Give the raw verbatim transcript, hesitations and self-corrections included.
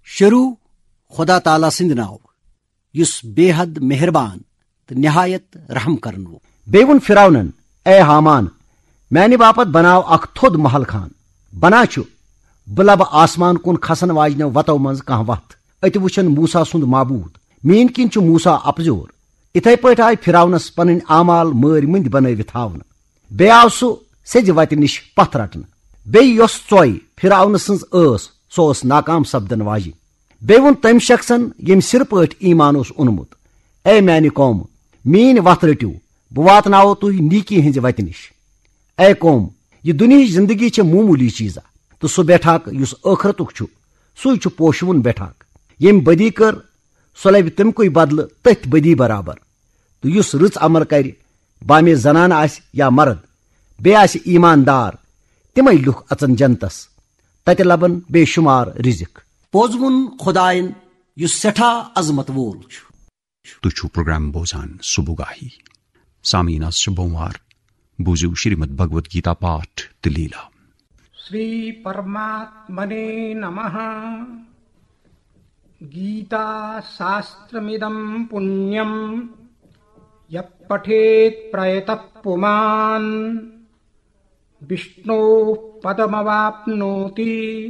شروع خدا تعالیٰ سٕنٛدِ ناوٕ، یُس بے حد مہربان تہٕ نہایت رحم کرن وول۔ بیٚیہِ ووٚن فرعونن، اے ہامان، میانہِ باپتھ بناو اکھ تھوٚد محل خان۔ بنا چھُ، بہٕ لبہٕ آسمان کُن کھسن واجنیو وتو منٛز کانٛہہ وتھ۔ أتہِ وٕچھن موسیٰ سُنٛد معبوٗد۔ میٲنۍ کِنۍ چھُ موسیٰ اپزیور۔ اِتھے پٲٹھۍ آیہِ فرعونس پنٕنۍ اعمال مٲرۍ مٔنٛدۍ بنٲوِتھ ہاونہٕ۔ بیٚیہِ آو سُہ سیٚزِ وتہِ نِش پتھ رٹنہٕ۔ بیٚیہِ یۄس ژۄے فرعون سٕنٛز ٲس، سۄ ٲس ناکام سپدن واجِنۍ۔ بیٚیہِ ووٚن تٔمۍ شخصن، ییٚمۍ سِرٕ پٲٹھۍ ایمان اوس اوٚنمُت، اے میانہِ قومہٕ، میٲنۍ وتھ رٔٹِو، بہٕ واتناوو تُہۍ نیکی ہٕنٛزِ وتہِ نِش۔ اے قوم، یہِ دُنیہٕچ زندگی چھےٚ معموٗلی چیٖزا، تہٕ سُہ بیٹھاک یُس ٲخرتُک چھُ، سُے چھُ پوشوُن بیٹھاک۔ ییٚمۍ بدی کٔر، سۄ لبہِ تمہِ کُے بدلہٕ تٔتھۍ بدی برابر۔ تہٕ یُس رٕژ عمل کرِ، بامے زنانہٕ آسہِ یا مرد، بیٚیہِ آسہِ ایماندار، تِمے لُکھ اژن جنتس۔ تتہِ لبن بے شمار رزق۔ پوٚز ووٚن خداین، یُس سٮ۪ٹھاہ عظمت وول چھُ۔ تُہۍ چھِو پروگرام بوزان صبح گاہی۔ سامعین، آز چھُ بوموار۔ بوٗزِو شریمد بھگوت گیتا پاٹھ تہٕ لیٖلا۔ श्री परमात्मने नमः। गीताशास्त्रमिदं पुण्यं यः पठेत् प्रयतः पुमान्। विष्णोः पदमवाप्नोति